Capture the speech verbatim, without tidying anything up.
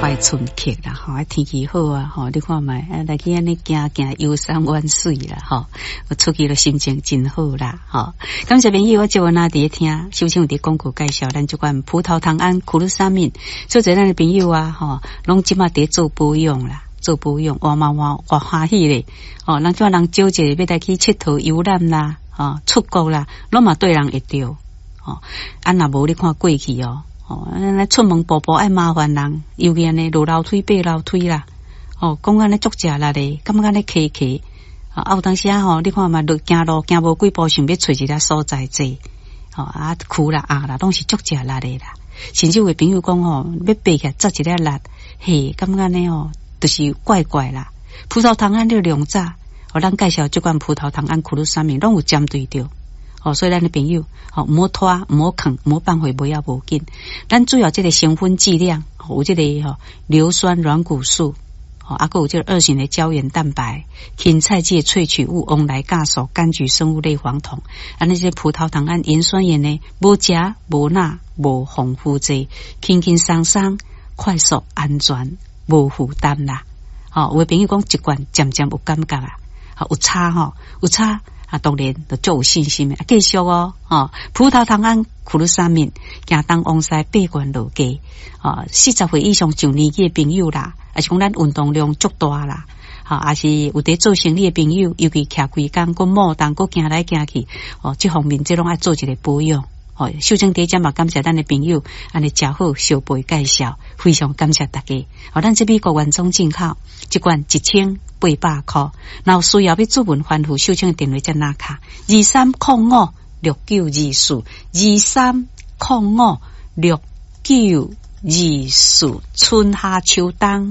懷春客啦，吼，啊天氣好啊，吼，你看覓，啊來去按呢行行遊山玩水啦，吼，我出去了心情真好啦，吼。感謝朋友，我節目若佇咧聽，首先有佇廣告介紹，咱這款葡萄糖胺苦魯沙敏，所以咱的朋友啊，吼，攏這馬佇做保養啦，做保養，哇嘛哇哇歡喜咧，哦，人這人招一個欲來去𨑨迌遊覽啦，吼，出國啦，攏嘛對人會著，吼，啊若無你看過去哦。哦，按呢出門步步愛麻煩人，尤其按呢落樓梯爬樓梯啦，哦，講按呢足食力的，感覺按呢磕磕，啊有當時啊吼，你看嘛，落行路行無幾步，想欲揣一个所在坐，吼啊跍啦壓啦，攏是足食力的啦。甚至有的朋友講吼，欲爬起來扎一个力，嘿，感覺按呢吼，就是怪怪啦。葡萄糖胺你量早，哦，咱介紹這款葡萄糖胺苦魯沙敏，攏有針對著。哦，所以咱的朋友，吼，毋好拖，毋好囥，毋好放棄，無要無緊。咱主要這個成分劑量，有這個吼硫酸軟骨素，吼，啊，閣有這個二型的膠原蛋白、芹菜籽萃取物、黃來酵素、柑橘生物類黃酮，啊，那些葡萄糖胺、鹽酸鹽呢，無鉀、無鈉、無防腐劑，輕輕鬆鬆、快速、安全、無負擔啦。吼，有的朋友講一罐漸漸有感覺啊，有差吼，有差。啊，當然就足有信心的，啊，繼續哦，吼，葡萄糖胺苦魯沙敏，行東往西八罐落價，哦，四十歲以上上年紀的朋友啦，抑是講咱運動量足大啦，吼，抑是有佇做生意的朋友，尤其徛規工，閣摩動，閣行來行去，哦，這方面這攏愛做一個保養。吼，秀清佇遮嘛感謝咱的朋友，按呢誠好相陪介紹，非常感謝大家。吼，咱這美國原裝進口，一罐一千八百箍。若有需要欲諮詢吩咐秀清的電話才拿卡，二三空五六九二四，二三空五六九二四，春夏秋冬。